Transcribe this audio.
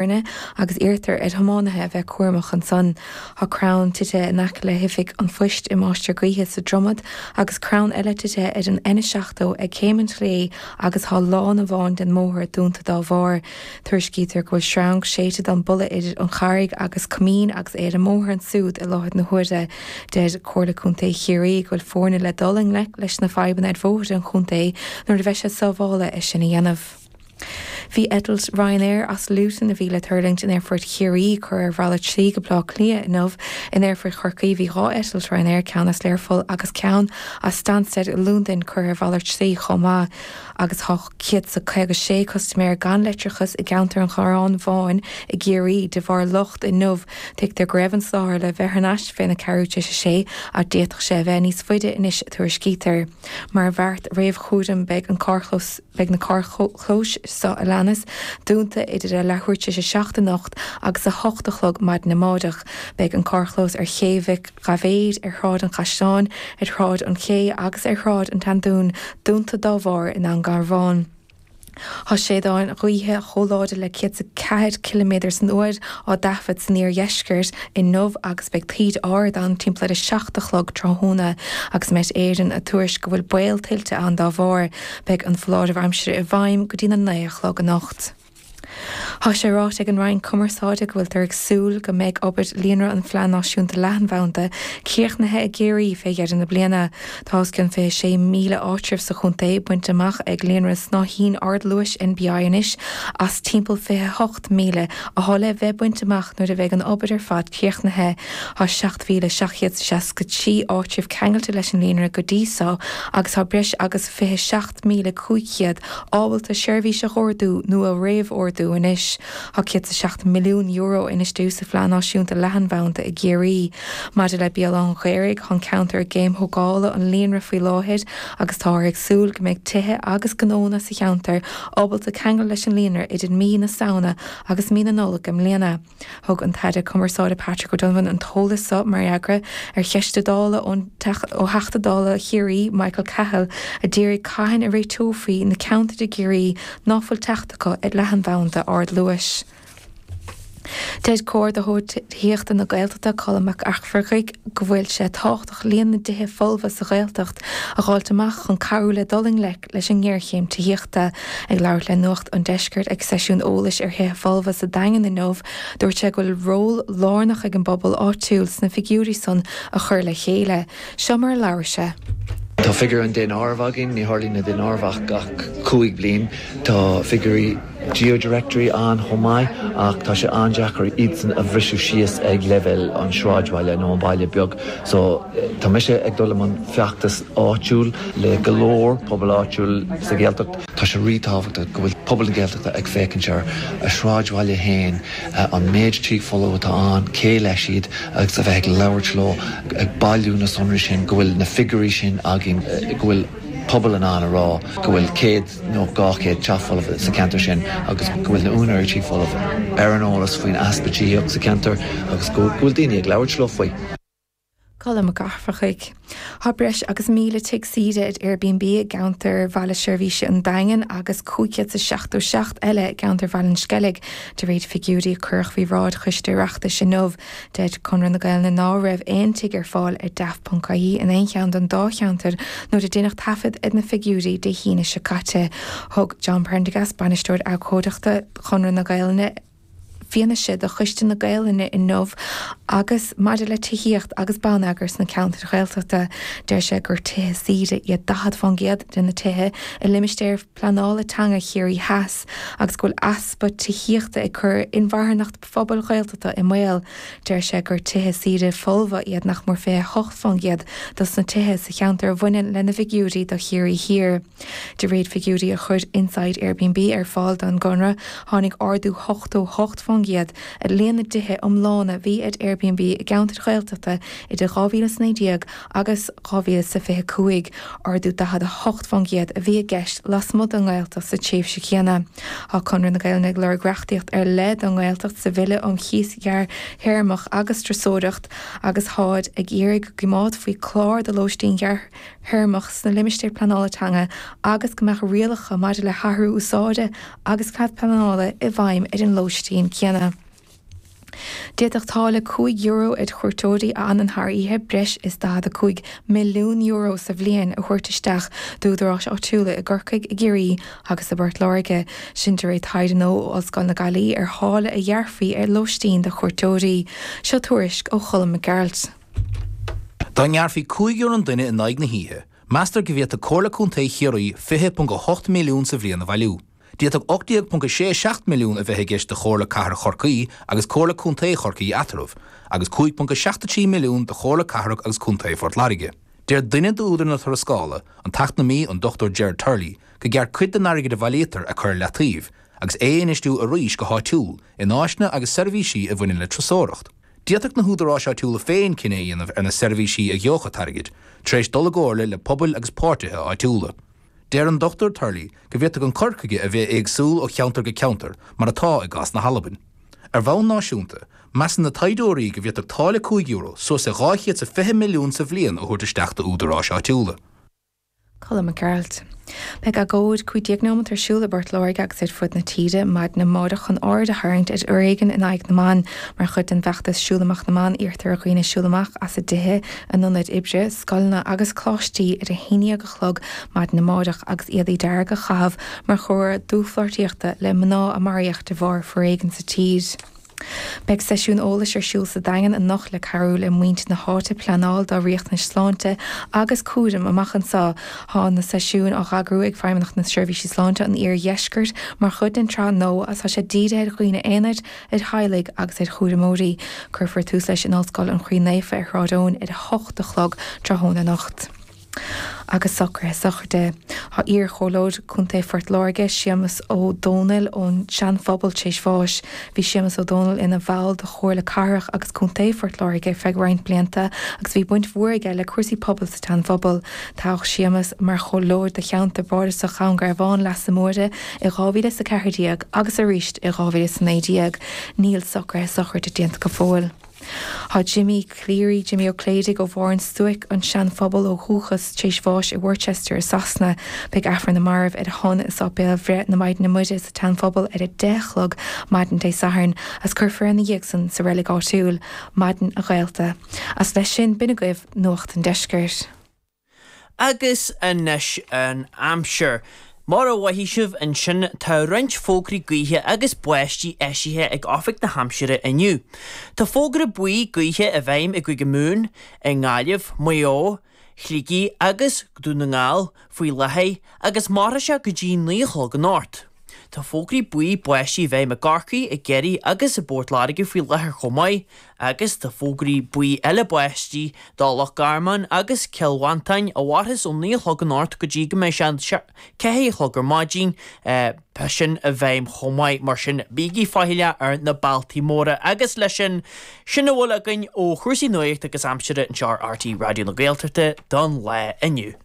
Agus iarrtar ar thiománaithe a bheith cúramach ansan. Tá crann tite in aice le hOifig an Phoist i Máistir Gaoithe sa Dromad agus crann eile tite ar an N70 ag Céim an tSlé agus tá lána amháin den mbóthar dúnta dá bharr. Tuairiscítear go bhfuil sreang séidte don buladh idir an Charraig agus Coimín agus é ar an mbóthar ansúd i láthair na huaire. Deir Comhairle Contae Chiarraí go bhfuil foirne le dul i ngleic leis na fadhbanna ar bhóithre an chontae nuair a bheidh sé sábhála é sin a dhéanamh. Bhí eitilt Ryanair as Luton a bhí le tuirlingt in Aerfort Chiarraí curtha ar mhalairt slí go Baile Átha Cliath inniu. In Aerfort Chorcaí bhí 2 eitilt Ryanair, ceann as Learpholl agus ceann as Stansted i Londain curtha ar mhalairt slí chomh maith. Agus tá 156 custaiméir gan leictreachas i gceantar an Chorráin Bháin i gCiarraí de bharr locht inniu. Tuigtear go raibh an soláthar le bheith thar n-ais féna ceathrú tar éis a sé ach d'fhéadfadh sé a bheith níos faide anois a tuairiscítear. Mar bheart réamhchúraim beidh an carrchlós. Beidh na carrchlóis seo a leanas dúnta idir a leathuair tar éis a 7 anocht agus a 8 a chlog maidin amáireach. Beidh an carrchlós ar Ché Mhic Dhaibhéid, ar Shráid an Chaisleáin, ar Shráid an Ché agus ar Shráid an tSeandúin dúnta dá bharr i nDún Garbhán. Tá séideáin ghaoithe chomh láidir le 104 ciliméadar san uair á dtaifead san iardheisceart inniu agus beidh taoide ard ann timpeall ar a 7 a chlog tráthnóna agus Met Éireann ag tuairisc go bhfuil baol tuilte ann dá bharr. Beidh an foláireamh aimsire i bhfeidhm go dtína 9 a chlog anocht. Tá sé ráite ag an Roinn Cumarsáide go bhfuiltear ag súil go mbeidh obair Líonra an Phlean Náisiúnta Leathanbhanda críochnaithe i gCiarraí fé dheireadh na bliana. Tá os cionn 26,000 áitreabh sa chontae bainte amach ag líonra snáithín ardluais NBI anois as timpeall 28,000 atá le bheith bainte amach nuair a bheidh an obair ar fad críochnaithe. Tá 7,763 áitreabh ceangailte leis an líonra go dtí so agus tá breis agus 27,500 ábalta seirbhís a dh'ordú nó a réamhordú anois. Tá €107 milliún infheistithe sa Phlean Náisiúnta Leathanbhanda i gCiarraí. Maidir le Béal Átha'n Ghaorthaidh, tá an ceantar i gcéim thógála an líonra faoi láthair agus táthar ag súil go mbeidh tithe agus gnónna sa cheantar ábalta ceangal leis an líonra idir mí na Samhna agus mí na Nollag i mbliana. Thug an tAire Cumarsáide Patrick O'Donovan an t-eolas so mar fhreagra ar cheist Dála ó Theachta Dála Chiarraí Michael Cahill a d'iarraidh cathain a réiteofaí na ceantair i gCiarraí ná fuil teacht acu ar leathanbhanda ardluais. Deir Comhordaitheoir Tithíochta na Gaeltachta Colm Mac Eachmharcaigh go bhfuil sé tábhachtach líon na dtithe folmha sa Ghaeltacht a dh'fháilt amach chun cabhrú le dul i ngleic leis an ngéarchéim tithíochta. Ag labhairt le Nuacht an Deiscirt ag seisiún eolais ar thithe folmha sa Daingean inniu, dúirt sé go bhfuil ról lárnach ag an bpobal áitiúil sna figiúirí san a chur le chéile. Seo mar a labhair sé. Tá figiúr an daonáirimh againn, ní tharlaíonn na daonáireamh ach gach 5 bliain. Tá figiúirí GeoDirectory ann chomh maith ach tá sé an-deacair iadsan a bhriseadh síos ag leibhéal an sráidbhaile nó an baile beag. So tá mise ag dul i mbun feachtas áitiúil le go leor pobal áitiúil sa Ghaeltacht. Tá sé rí-tábhachtach go bhfuil pobal na Gaeltachta ag féachaint ar a sráidbhaile féin, an méid tí folamh atá ann, cé leis iad agus a bheith ag labhairt leo, ag bailiú na sonraí sin, go bhfuil na figiúirí sin againn, go bhfuil pobal in ann a rá go bhfuil 100 nó 200 teach folamh sa cheantar sin agus go bhfuil na úinéirí tí folamh ar an eolas faoin easpa tithíocht sa cheantar agus go bhfuil daoine ag labhairt leo faoi. Colm Mac Eachmharcaigh. Tá breis agus 1,000 tigh saoire ar Airbnb i gceantar Bhaile Seirbhíse an Daingin agus 577 eile i gceantar Bhaile an Sceilg, de réir figiúirí a cuireadh faoi bhráid Choiste Oireachtais inniu. Deir Conradh na Gaelainne ná raibh aon tigh ar fáil ar daft.ie in aon cheann den dá cheantar nuair a deineadh taifead ar na figiúirí Dé hAoine seo caite. Thug John Prendergast, Bainisteoir Abhcóideachta Chonradh na Gaelainne, fianaise do Choiste na Gaelainne inniu agus maidir le tithíocht agus bonneagar sna ceantair Ghaeltachta, deir sé gur tithe saoire iad 40% de na tithe i limistéar pleanála teanga Chiarraí Theas agus go bhfuil easpa tithíochta ag cur inmharthanacht phobail Ghaeltachta i mbaol. Deir sé gur tithe saoire folmha iad nach mór 28% dos na tithe sa cheantar a bhaineann lena bhfigiúirí do Chiarraí Thiar. De réir figiúirí a chuir Inside Airbnb ar fáil don gConradh, tháinig ardú 88% ar líon na dtithe iomlána a bhí ar Airbnb i gceantair Ghaeltachta idir 2019 agus 2025, ardú 48% a bhí i gceist lasmuigh den nGaeltacht sa tréimhse chéanna. Tá Conradh na Gaelainne ag lorg reachtaíocht ar leith don nGaeltacht sa Bhille um Chíos Ghearrthéarmach agus Turasóireacht agus táid ag iarraidh go gcoimeádfaí clár do lóistín ghearrthéarmach sna limistéir pleanála teanga agus go mbeadh rialacha maidir le hathrú úsáide agus cead pleanála i bhfeidhm ar an lóistín céanna. céanna. D'fhéadfadh táille €5 ar chuairteoirí a fhanann thar oíche breis is €45 milliún sa bhliain a thabhairt isteach d'údaráis áitiúla i gCorcaigh, i gCiarraí agus i bPort Láirge. Sin de réir taighde nua ó Ollscoil na Gaillimhe ar tháille a ghearrfaí ar lóistín do chuairteoirí. Seo tuairisc ó Cholm Mac Gearailt. Dá ngearrfaí €5 an duine in aghaidh na hoíche, meastar go bhféadfadh Comhairle Contae Chiarraí 20.8 milliún sa bhliain a bhailiú. D'fhéadfadh 18.67 milliún a bheith i gceist do Chomhairle Cathrach Chorcaí agus Comhairle Contae Chorcaí eatarthu, agus 5.73 milliún do Chomhairle Cathrach agus Contae Phort Láirge. Deir duine d'údair na tuarascála, an t-eacnamaí an Dr Gerard Turley, go gceart cuid den airgead a bhailítear a chur ar leataobh agus é a infheistiú arís go háitiúil in áiseanna agus seirbhísí a bhaineann le turasóireacht. D'fhéadfadh na húdaráis áitiúla féin cinneadh a dhéanamh ar na seirbhísí a gheobhadh an t-airgead, tar éis dul i gcomhairle le pobail agus páirtithe áitiúla. Deir an Dr Turley go bhféadfadh an cur chuige a bheith éagsúil ó cheantar go ceantar, mar atá i gcás na hAlban. Ar bhonn náisiúnta, measann na taighdeoirí go bhféadfadh táille €5 suas le 220 milliún sa bhliain a thabhairt isteach d'údaráis áitiúla. Colm Mac Gearailt. Beidh agóid 15 nóimeat ar siúl i bPort Láirge agus ar fud na tíre maidin amárach chun aird a tharraingt ar fhoréigean in aghaidh na mban. Mar chuid den bhfeachtas Siúl Amach na mBan iarrtar ar dhaoine siúl amach as a dtithe, a n-ionaid oibre, scoileanna agus coláistí ar a 11 a chlog maidin amárach agus éadaí dearga a chaitheamh mar chomhartha dlúthpháirtíochta le mná a maraíodh de bharr foréigin sa tír. Beidh seisiún eolais ar siúl sa Daingean anocht le cabhrú le muintir na háite pleanáil dá riachtanais sláinte agus cúraim amach anseo. Tá na seisiúin á n-eagrú ag Feidhmeannacht na Seirbhísí Sláinte an Iardheiscirt mar chuid den tsraith nua agus tá sé dírithe ar dhaoine aonair, ar theaghlaigh agus ar chúramóirí. Cuirfear tús leis in Ollscoil an Chroí Naofa ar Shráid Eoin ar 8 a chlog tráthnóna anocht. Agus socruithe sochraide. Tá iar-chomhairleoir contae Phort Láirge, Séamus Ó Dónaill ón Seanphobal tar éis bháis. Bhí Séamus Ó Dónaill ina bhall de Chomhairle Cathrach agus Contae Phort Láirge ar feadh roinnt blianta agus bhí baint mhór aige le cúrsaí pobail sa tSeanphobal. Toghadh Séamus mar chomhairleoir do cheantar bardasach Dhún Garbhán, Leasa Móire i 2014 agus arís i 2019. Níl socruithe sochraide déanta go fóill. Tá Jimmy Cleary, Jimmy Ó Cléidigh ó Bharr an Stuaic, an Seanphobal ó dhúchas, tar éis bháis i Worcester i Sasana. Beidh Aifreann na Marbh ar a shon i Sáipéal Bhreith na Maighdine Muire sa tSeanphobal ar 10 a chlog maidin Dé Sathairn agus cuirfear é ina dhiaidh san sa reilig áitiúil. Maidin a ghaolta. Agus leis sin, b'in agaibh Nuacht an Deiscirt. Agus anois an aimsir. Mar a mhothaigh sibh ansin tá roinnt fógraí gaoithe agus báistí eisithe ag Oifig na hAimsire inniu. Tá fógra buí gaoithe i bhfeidhm i gCúige Mumhan, i nGaillimh, Maigh Eo, Shligigh agus Dún na nGall faoi láthair agus mairfidh sé go dtí 9 a chlog anocht. Tá fógraí buí báistí i bhfeidhm i gCorcaigh, i gCiarraí agus i bPort Láirge faoi láthair chomh maith agus tá fógraí buí eile báistí do Loch Garman agus Cill Mhantáin a mhairfeas ó 9 a chlog anocht go dtí go mbeidh sé 4 a chlog ar maidin, beidh sin i bhfeidhm chomh maith. Mar sin, bígí faichilleach ar na bealtaí móra. Agus leis sin, sin a bhfuil againn ó chúrsaí nuachta agus aimsire anseo ar RTÉ Raidió na Gaeltachta don lá inniu.